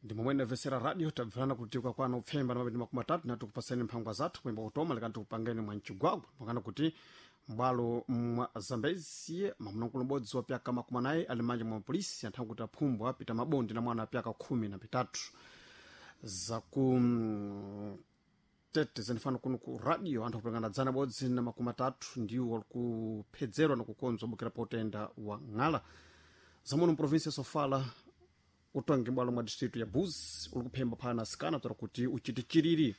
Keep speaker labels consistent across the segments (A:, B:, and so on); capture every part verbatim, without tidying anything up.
A: Ndi momwe ndamvetsera radio tabverana kuti kwakwana upfemba na mabedi makumi atatu na tikupaseni mphangwa zathu kuyimba kutoma lekani tikupangeni mwa mchigwagwa mwakana kuti m'bwalo mwa Zambezi mwamuna m'bodzi wa pyaka makumi anayi ali m'manja mwa polisi anthawi kuti aphumbwa apita mabondi na mwana apyaka khumi na pitatu. Zaku mm, tete zenifano kuno ku radio anthu akupangana dzana bodzi na makumi atatu ndiwo alikuphedzerwa na kukonzwa bukira pa utenda wa ng'ala. Zamuno mprovinsi ya Sofala utongi m'bwalo mwa distritu ya Buzi uli kuphemba phana asikana tora kuti uchite chiriri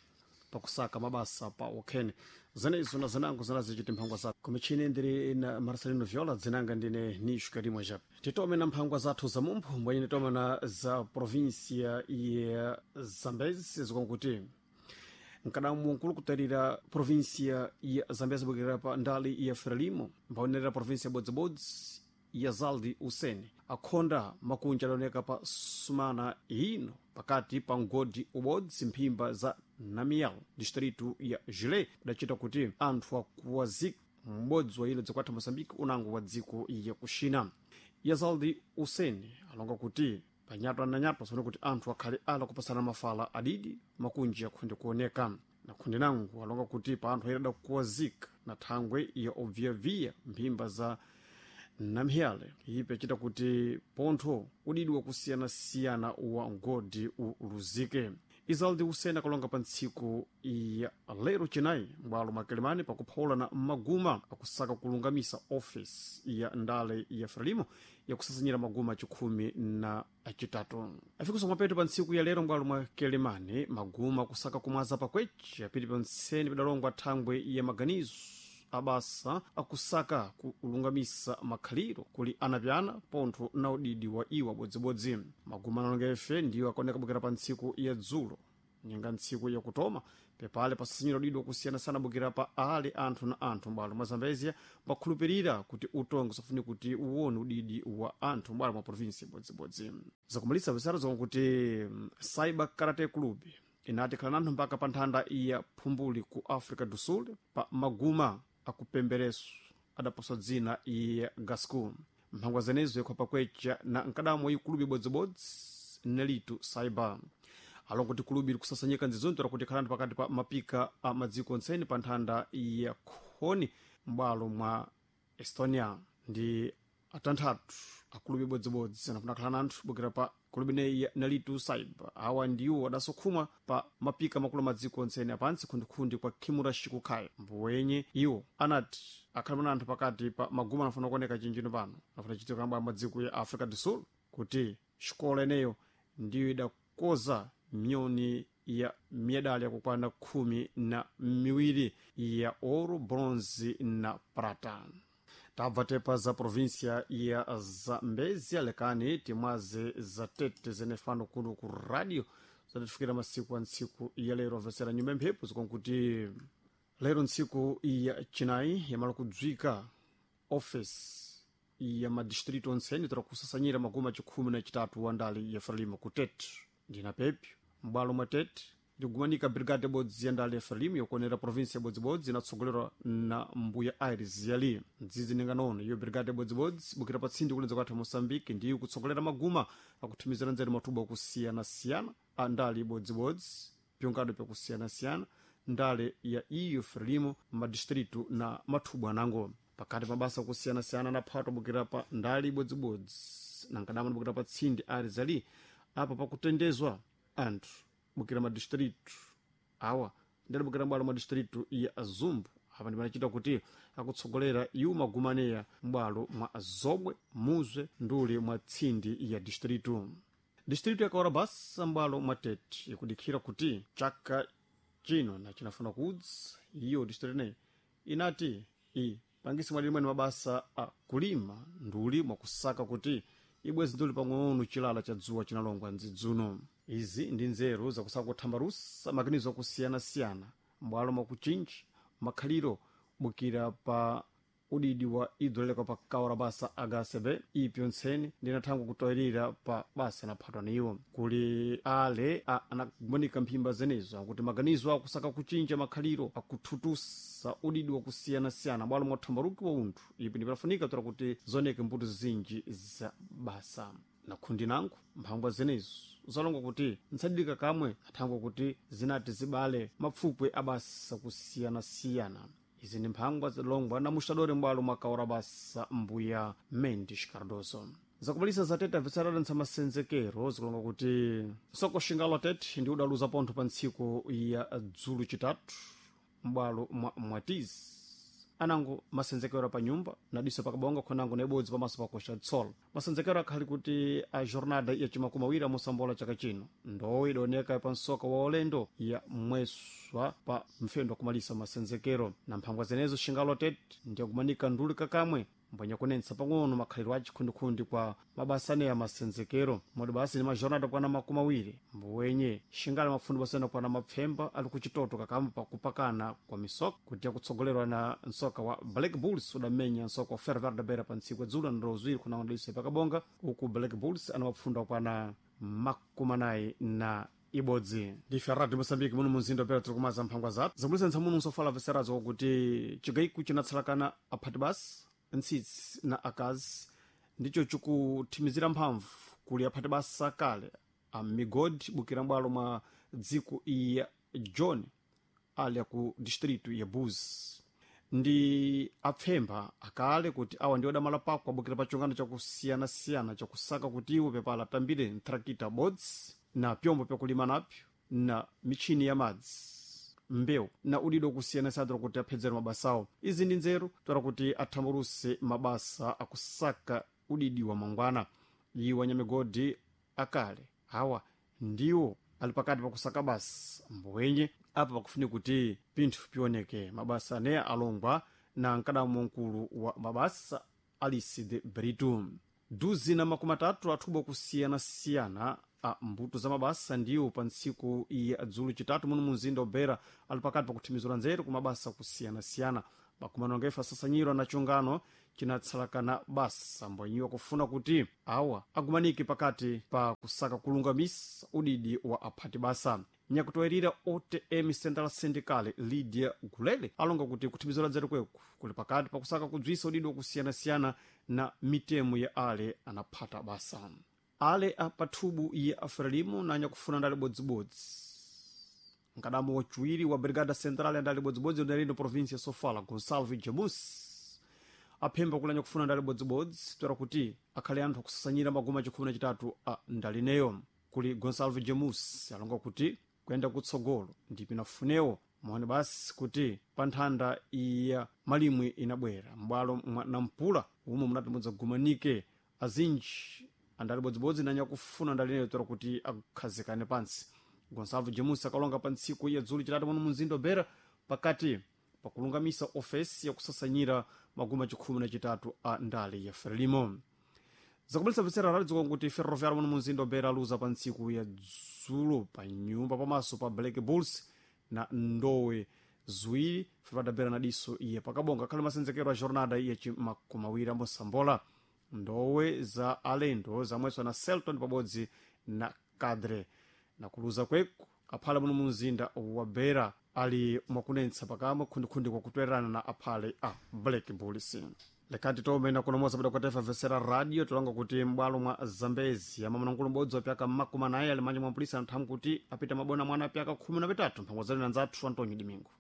A: pakusaka mabasa pa okhene. Zenezo na zinango zinazichiti mphangwa zathu kumichini ndiri na Marcelino Viola, dzinanga ndine Nishu Karimwe Jape. Titome na mphangwa zathu za mumpho mbwenye titome na za provinsia ya Zambezi zikonkuti mkadamu nkulu kutarira provinsia ya Zambezi bukira pa ndali ya Frelimo mbaonerera provinsia bodzibodzi ya Zaldi Useni akhonda makunja adaoneka pa sumana ino pakati pa mgodi ubodzi mphimba za Namial distritu ya Jile kudachita kuti anthu akuwazika m'bodzi wa ilo dzikwatha Moçambique unango wa dziko ya kuxina. Yazaldi Useni alonga kuti panyatwa na nyatwa sone kuti anthu akhale ala kupasana mafala adidi makunji akhonde kuoneka na khonde nangu alonga kuti pa anthu ayirada kuwazika na thangwe ya obviyaviya mphimba za Namhyale ipe achita kuti pontho udidi wakusiyanasiyana wa mgodi uluzike. Izaldi Useni akalonga pa ntsiku ya lero Chinayi m'bwalo mwa Kilimani pakuphawula na maguma akusaka kulungamisa ofisi ya ndale ya Frelimo yakusasanyira maguma achikhumi na achitatu. Afikiso mwapeto pa ntsiku ya lero m'bwalo mwa Kilimani maguma akusaka kumwaza pakwechi apiti pantseni padalongwa thangwe ya maganizo abasa akusaka kulungamisa makhaliro kuli anapyana pontho na udidi wa iwo abodzibodzi. Maguma analonga ife ndiwo akaoneka bukira pa ntsiku ya dzulo nyenga ntsiku yakutoma pepale pasasinyira udidi wakusiyanasiyana bukira pa ali anthu na anthu m'bwalo mwa Zambezia pakhulupirira kuti utongo safuni kuti uwone udidi wa anthu m'bwalo mwa provinsi ibodzibodzi. Zakumalisa visaro zakuti mm, Cyber Karate Club inati khala nanthu mpaka pa nthanda ya phumbuli ku Africa do Sul pa maguma akupembereso adaposwa dzina ya Gasco. Mphangwa zenezo yakhwapa kwecha na nkadamo ikulubi ibodzibodzi Nelito Cyber alongo kuti kulubi likusasanyika nzizonto lakuti khalani pakati pa mapika a madziko ontseni pa nthanda ya khoni m'bwalo mwa Estonia. Ndi atanthatu akulubi ibodzibodzi anafuna khala nanthu bukira pa kulubi ineyi ya Nalitu Cyber. Awa ndiwo adasokhumwa pa mapika makulu madziko ontseni apantsi khundikhundi kwa Khimura Shikukhaya mbuwenye iwo anati akhale mana anthu pakati pa maguma anafuna kuoneka chinjino pano anafuna chitika kamba madziko ya Africa do Sul kuti xikola ineyo ndiyo idakoza miyoni ya medali yakukwana khumi na miwiri ya ouro, bronze na prata. Tabva tepa za provinsia ya Zambezia lekani timwaze za tete zenefano kuno ku radio zatifikira masiku a ntsiku ya lero amvetsera nyumba mphepo zikonkuti lero ntsiku ya Chinayi yamala kudzwika office ya madistrito ontseni tora kusasanyira maguma chikhumi na chitatu wa ndali ya Frelimo ku Tete. Ndina pepyo m'bwalo mwa Tete ndikugumanika brigade bodzi ya ndale ya Frelimo yokuonera provinsi ya bodzibodzi inatsogolerwa na mbuya Aires Yali mdzidzi ninganono. Iyo brigade bodzibodzi bukira pa tsindi kulenza kwathu Moçambique ndiyo kutsogolera maguma akuthumizira nzeru matubo akusiyana-siyana a ndale ibodzibodzi pyongado pyakusiyana-siyana ndale ya iyo Frelimo madistritu na mathubu anango pakati mabasa akusiyana-siyana anaphatwa bukira pa ndale ibodzibodzi nankadama bukira pa tsindi Aires Yali apa pakutendezwa anthu bukira madistritu awa ndalibukira m'bwalo mwa distritu ya Zumbu apa ndipanachita kuti akutsogolera iwo magumaneya m'bwalo mwa Zobwe, Muzwe nduli mwa tsindi ya distritu. Distritu ya Kaorabasa m'bwalo mwa Tete ikudikhira kuti chaka chino na chinafuna kudzi iyo distritu ineyi inati ipangise mwalimweni mabasa a kulima nduli mwakusaka kuti ibwezi nduli pang'ono chilala cha dzuwa chinalongwa ndzidzuno. Izi ndi nzeru zakusaka kuthambalusa makanizo akusiyana-siyana m'bwalo mwakuchinji makhaliro bukira pa udidi wa idoleka pa kaorabasa agasebe ipyo ntseni ndinathangwa kutoyerera pa basa naphatwa niwo kuli ale a- anagumanika mphimba zenezo akuti maganizo akusaka kuchinja makhaliro akuthutusa udidi wakusiyanasiyana bwalo mwathambaluki wa unthu ipi ndipanafunika tora kuti zoneke mbuto zinji za basa. Na khundi nangu mphangwa zenezo zalonga kuti ntsadidika kamwe athangwa kuti zinati zibale mapfupwe abasa kusiyanasiyana. Izi ndi mphangwa zilongwa na muxadori m'bwalo mwa basa mbuya Mendes Cardoso. Zakubalisa zatete abvetsera ntsa masenzekero zikulonga kuti soko xingalo tete ndi udaluza pontho pa ntsiku ya dzulu chitatu m'bwalo mwa mwatizi anango masenzekero pa nyumba nadiso pakabonga khonango na ibodzi pamaso pakoxa tsolo. Masenzekero akhali kuti a jornada ya chimakumi awiri amusambola chaka chino ndowe idoneka pa msoka wa ulendo ya mweswa pa mfendo wakumalisa masenzekero. Na mphangwa zenezo xingalo tete ndiyakumanika nduli kakamwe mbwenya kunensa pang'ono makhalidwe a chikhundikhundi kwa mabasa aneya masenzekero modi basi ni majornada kwana makumi awiri mbuwenye xingale mafundi basena kwana mapfemba ali kuchitoto kakamba pakupakana kwa misoka kuti akutsogolerwa na msoka wa Black Bulls udamenya msoka wa Ferroviário da Beira pa ntsiku ya dzulo na ziwiri kuna ndaliso pakabonga uku Black Bulls ana mapfunda kwana makumi anayi na ibodzi. Ndife Radio Moçambique muno munzinda pera tiri kumaza mphangwa zathu zakulisa ntsamuno nsofala veserazo kuti chigayiku chinatsalakana aphati basi ntsitsi na akazi ndicho chikuthimizira mphamvu kuli aphati basa kale a migodi bukira m'bwalo mwa dziko ya John ali aku distrito ya Buzi ndi apfemba akale kuti awa ndi odamala pako abukira pa chungano chakusiyanasiyana chakusaka kuti iwo pepala atambire ntrakita bodzi na pyombo pyakulima napyo na michini ya madzi mbewu na udido kusiyana-siyana kuti aphedzere mabasawo. Izi ndi nzeru toera kuti athamburuse mabasa akusaka udidi wa mangwana. Iwo anyamigodi akale awa ndiwo ali pakati pakusaka basa mbuwenye apa pakufunika kuti pinthu pioneke mabasa aneya alongwa na mkadamo mkulu wa mabasa Alice de Brito. Duzi na makumi atatu athubo kusiyanasiyana a mbuto za mabasa ndiwo pa ntsiku ya dzulu chitatu muno munzinda wa ali pakati pakuthimizira nzeru ku mabasa kusiyanasiyana. Makumano angefa asasanyirwa na chungano chinatsalakana basa mbwenyiwa kufuna kuti awa agumanike pakati pa kusaka kulungamisa udidi wa aphati basa. Nyakutowerera O T M Central Syndical Lydia Gulele alonga kuti kuthimizira nzeru kweku kuli pakati pakusaka kudzwisa udidi wakusiyanasiyana na mitemo ya ale anaphata basa. Ale apathubu ya Frelimo nanya kufuna ndali bodzibodzi nkadamo wachiwiri wa Brigada Central ndali bodzibodzi udalino província ya Sofala Gonçalves Jamus aphemba kulanya kufuna ndali bodzibodzi toera kuti akhale anthu akusasanyira maguma chikhumi na chitatu a ndalineyo. Kuli Gonçalves Jamus alonga kuti kuyenda kutsogolo ndipo inafunewo mone basi kuti pa nthanda ya malimwe inabwera m'bwalo mwa Nampula umo munati mudzagumanike azinji andali bodzibodzi nanya kufuna ndalineyo toera kuti akhazikane pansi. Gonçalves Jamus akalonga pa ntsiku ya dzulu chitatu muno munzinda wa Beira pakati pakulungamisa ofesi yakusasanyira maguma chikhumi na chitatu a ndale ya Frelimo. Zakubalisa bvetsera radio kuti Ferroviário muno munzinda wa Beira aluza pa ntsiku ya dzulo pa nyumba pamaso pa Black Bulls na ndowe ziwiri Ferroviário da Beira na diso iye pakabonga akhale masenzekero a jornada ya chimakumi awiri amosambola. Ndowe za alendo zamweswa na Celton pabodzi na Cadre. Na kuluza kweku aphale muno munzinda wa Beira ali mwakunensa pakamwe khundikhundi kwakutwererana na aphale a Black Bulls. Lekati tomena kunomoza bada kwatefa vesera radio tulonga kuti m'bwalo mwa Zambezi amamnangulu m'bodzi wapyaka makumi anayi ali manja mwa polisi anthamu kuti apita mabona mwana apyaka khumi na pitatu mphango zanu na nzathu Antonio Domingo.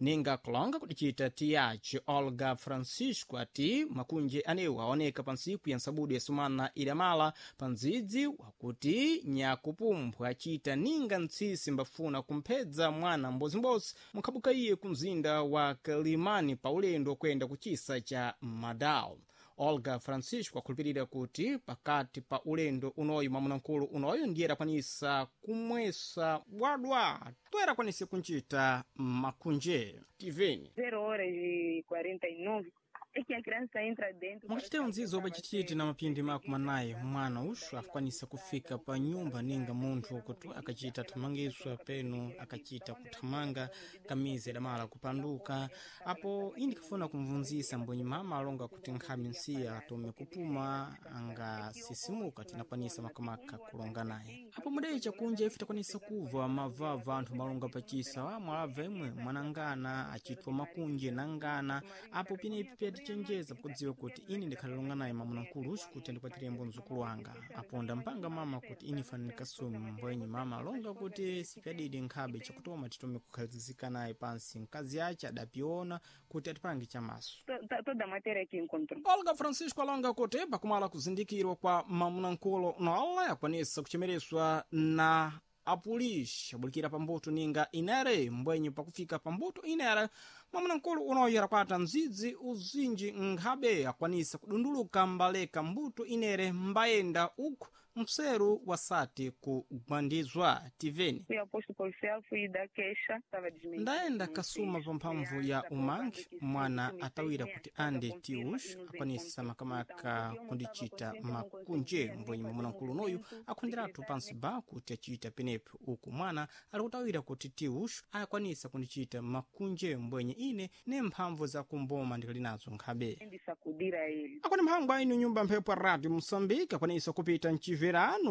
B: Ninga kulonga kudicita tiyaci Olga Francisco ati makunje anewo aoneka pa ntsiku ya nsabudu ya sumana idamala pa ndzidzi wakuti nyakupumphwa acita ninga ntsisi mbafuna kumphedza mwana mbozimbodzi mukhabuka iye ku mzinda wa Kalimani pa ulendo wakwenda kuchisa cha Madao. Olga Francisco akhulupirira kuti pakati pa ulendo unoyu mwamunamkulu unoyu ndiye adakwanisa kumwesa bwadwa toera akwanise kuncita makunje tiveni
C: zero horas e quarenta e nove é que a criança entra dentro.
B: Mwakacitira nzizo pacititi na mapindi makumi anayi mwana uxu akwanisa kufika pa nyumba ninga munthu kuti akacita thamangiswa penu akacita kuthamanga kamizi idamala kupanduka apo indi kafuna kumvunzisa mbwenyi mama alonga kuti nkhami nsiya atome kupuma angasisimuka tinakwanisa makamaka kulonga naye apo mudayi chakunja ife takwanisa kuva mavava anthu malonga pachisa wa mwalabva imwe mwanangana acitwa makunje nangana apo pinepi pya Ndachenjeza pakudziwa kuti ine ndikhalilonga naye mwamuna-nkulu uxu kuti andikwatirembo mzukulu wanga. Apo ndampanga mama kuti ine fane ndikasume mbwenye mama alonga kuti sipyadidi nkhabe chakutoma titome kukhalizika naye pansi. Mkazi ace adapiona kuti atipange chamaso.
C: To- Toda a matéria que encontrou.
B: Olga Francisco alonga kuti pakumala kuzindikirwa kwa mamunamkulu nola akwanisa kuchemereswa na apolisi abulikira pambuto ninga inere mbwenye pakufika pambuto inere mwamunamkulu unoyo adakwata mdzidzi uzinji nkhabe akwanisa kudunduluka mbaleka mbuto inere mbayenda uku mseru wasati kugwandizwa. Tiveni.
C: Fui ao posto policial, fui dar queixa, estava desmentido.
B: Ndayenda kasuma pa mphamvu ya umangi mwana atawira kuti ande tius akwanisa makamaka kundichita makunje mbwenye mwamunamkulu unoyu akhonderatu pansi ba kuti achita penepo uku mwana ali kutawira kuti tius akwanisa kundichita makunje mbwenye ine ne mphamvu za kumboma ndikali nazo nkhabe.
C: De sacudir a ele.
B: Akwani mphamvu ainu nyumba mphepo ya radio Moçambique akwanisa kupita mchiverano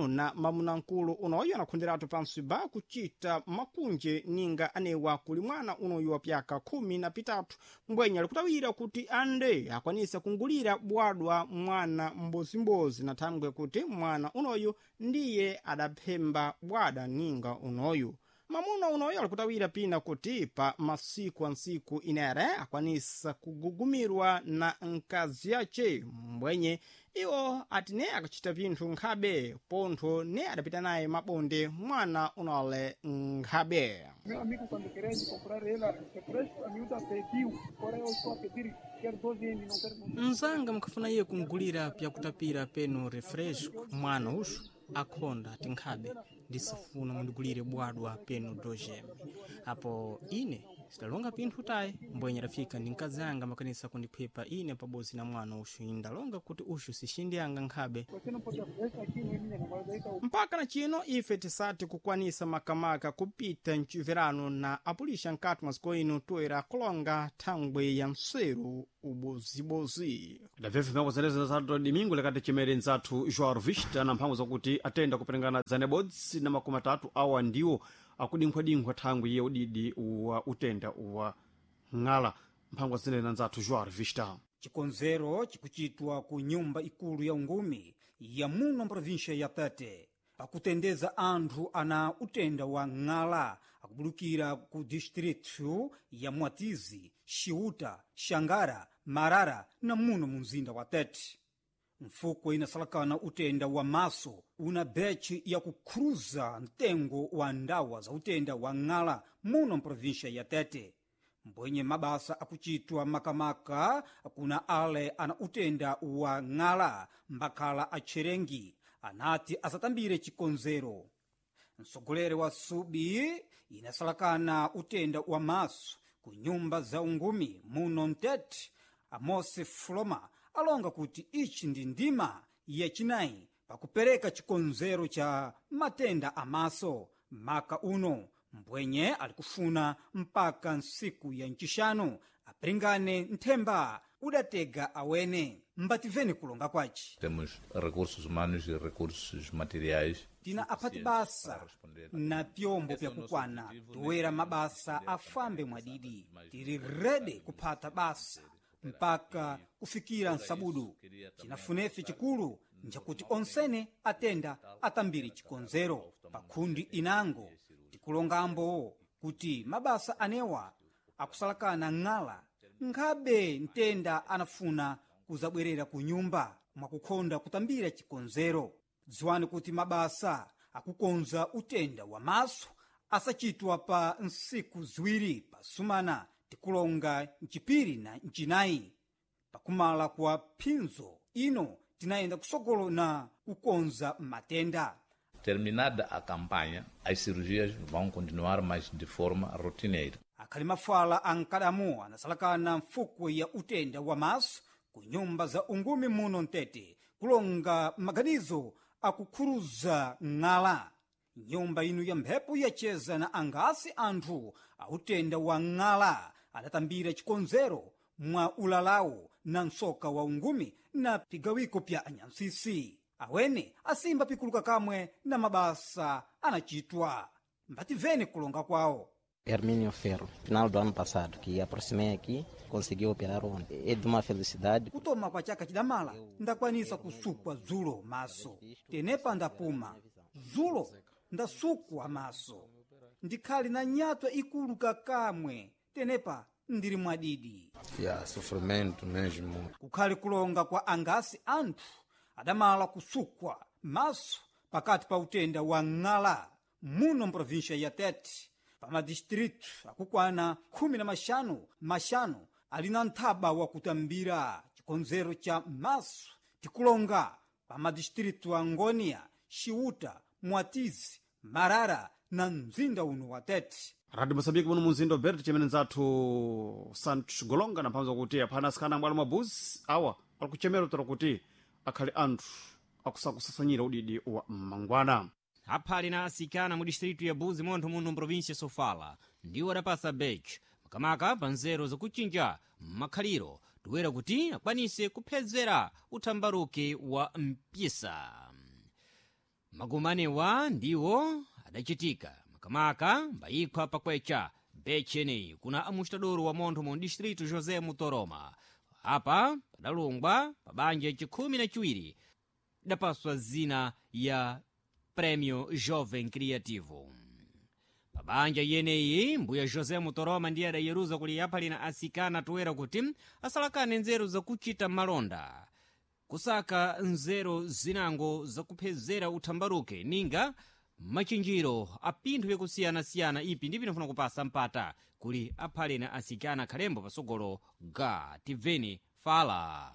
B: na mamunamkulu unoyo anakhonderatu pansi ba kuchita makunje ninga anewa kuli mwana unoyu wa pyaka khumi na pitatu mbwenye alikutawira kuti ande akwanisa kungulira bwadwa mwana mbozimbozi na thangwe kuti mwana unoyu ndiye adaphemba bwada ninga unoyu. Mamuna unoyo alikutawira pina kuti pa masiku ansiku inere akwanisa kugugumirwa na nkazi yace mbwenye iwo ati ne akachita pinthu nkhabe pontho ne adapita naye mabonde mwana unole nkhabe.
D: Meu amigo, quando querer comprar ela, refresco, a miúda pediu. Agora eu estou a pedir, quero doze M, não quero.
B: Mzanga mkhafuna iye kungulira pyakutapira penu refresco mwana uxu akhonda ati nkhabe ndisifuna mundigulire bwadwa penu dojeme. Apo ine sidalonga pinthu tayi mbwenye adafika ndi mkazi anga makanisa kundikhwepa ine pabodzi na mwana uxu. Ine ndalonga kuti uxu sixindi anga nkhabe.
D: Você não pode essa aqui não é minha namorada, aí tá o
B: Mpaka na chino ife tisati kukwanisa makamaka kupita mchiverano na apulisha nkati mwa ino toera kulonga thangwe ya mseru ubozibozi.
A: Idabvebve mphamvu zenezi za domingo lekati chimere nzathu Joao Vista na mphamvu zakuti atenda kuperengana dzana ibodzi na makumi atatu awa ndiwo akudinkhwadinkhwa thangwi ye udidi wa utenda wa ng'ala. Mphamvu zenezi na nzathu Joao Vista.
E: Chikonzero chikuchitwa ku nyumba ikulu ya ungumi ya muno mprovinsha ya Tete pakutendeza anthu ana utenda wa ng'ala akubulukira ku distritu ya Mwatizi, Xiuta, Xangara, Marara na muno mu mzinda wa Tete. Mfuko inasalakana utenda wa maso una bechi ya kukhruza mtengo wa ndawa za utenda wa ng'ala muno mprovinsha ya Tete. Mbwenye mabasa akuchitwa makamaka kuna ale ana utenda wa ng'ala mbakhala atcherengi anati asatambire chikonzero. Mtsogoleri wa subi inasalakana utenda wa maso ku nyumba za ungumi muno mtete Amosi Floma alonga kuti ichi ndi ndima yachinayi pakupereka chikonzero cha matenda amaso maka uno mbwenye alikufuna mpaka nsiku ya ncixanu apiringane nthemba udatega awene. Mbativeni kulonga kwaci.
F: Temos recursos humanos e recursos materiais.
E: Tina aphati basa na pyombo pyakukwana toera mabasa afambe mwadidi. Tiri rede kuphata basa mpaka kufikira nsabudu. Cinafunefe chikulu njakuti onsene atenda atambire chikonzero pakhundi inango. Tikulongambo kuti mabasa anewa akusalakana ng'ala nkhabe mtenda anafuna kuzabwerera ku nyumba mwakukhonda kutambira chikonzero. Dziwani kuti mabasa akukonza utenda wa maso asachitwa pa nsiku ziwiri pasumana, tikulonga mcipiri na mcinayi. Pakumala kwa phinzo ino tinayenda kusogolo na kukonza matenda.
F: Terminada a campanha, as cirurgias vão continuar, mas de forma rotineira.
E: Akhali mafala ankadamu anasalakana mfukwe ya utenda wa maso ku nyumba za ungumi muno mtete kulonga maganizo akukhuruza ng'ala. Nyumba inu ya mphepo yacheza na angasi anthu autenda wa ng'ala adatambira chikonzero mwa ulalawo na msoka wa ungumi na pigawiko pya anyansisi. Awene asimba pikuluka kamwe na mabasa anachitwa. Mbativeni kulonga kwawo.
G: Hermínio Ferro, final do ano passado, que aproximei aqui Consegui operar ontem. É de uma felicidade.
E: Kutoma kwa chaka chidamala ndakwanisa kusukwa dzulo maso, tenepa ndapuma dzulo ndasukwa maso, ndikhali na nyatwa ikulu kakamwe, tenepa ndili mwadidi.
H: Yeah, sofrimento mesmo.
E: Kukhali kulonga kwa angasi anthu adamala kusukwa maso pakati pa utenda wa ng'ala muno mprovinsha ya Tete, pa madistritu akukwana khumi na maxanu maxanu ali na nthaba wakutambira chikonzero cha maso, tikulonga pa madistritu a Ngônia, Xiuta, Mwatizi, Marara na mzinda uno wa Tete.
A: Radio Mosambiki muno mumzinda Bert chimene nzathu Santos Golonga na mphamvu kuti aphana asikana ambwalo mabuzi awa ali kuchemera utero kuti akhale anthu akusakusasanyira udidi wa mmangwana.
I: Aphali na asikana mu distritu ya Buzi montho muno mprovinsia Sofala ndiwo adapasa bech makamaka pa nzeru zakuchinja makhaliro toera kuti akwanise kuphezera uthambaruke wa mpisa. Magumanewa ndiwo adachitika makamaka mbayikhwa pakwecha bechi eneyi kuna amustadoro wa montho mu distritu José Mutoroma. Apa padalungwa pa banja yachikhumi na chiwiri idapaswa zina ya Prêmio Jovem Criativo. Pabanja yeneyi mbuya José Mutoroma ndiye adayeruza kuli yaphalina asikana toera kuti asalakane nzeru zakuchita malonda, kusaka nzeru zinango zakuphezera uthambaruke ninga machinjiro a pinthu yakusiyanasiyana ipi ndi pinafuna kupasa mpata kuli aphalina asikana khalembo pasogolo ga tibveni fala.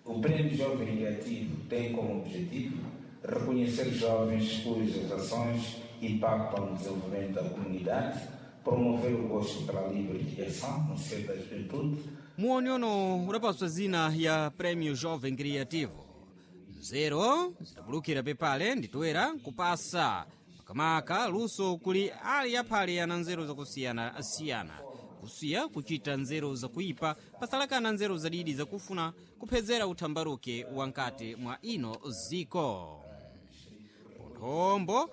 J: O Prêmio Jovem Criativo tem como objetivo reconhecer jovens cujas ações impactam no desenvolvimento da comunidade, promover o gosto pela livre criação no seio da juventude.
I: Muonyono udapaswa zina ya Prêmio Jovem Criativo. Nzeru zidabulukira pepale nditoera kupasa makamaka luso kuli ali aphale ana nzeru zakusiyanasiyana, kusiya kuchita nzeru zakuipa pasalakana nzeru zadidi zakufuna kuphezera uthambaruke wankati mwa ino ziko. Ponthombo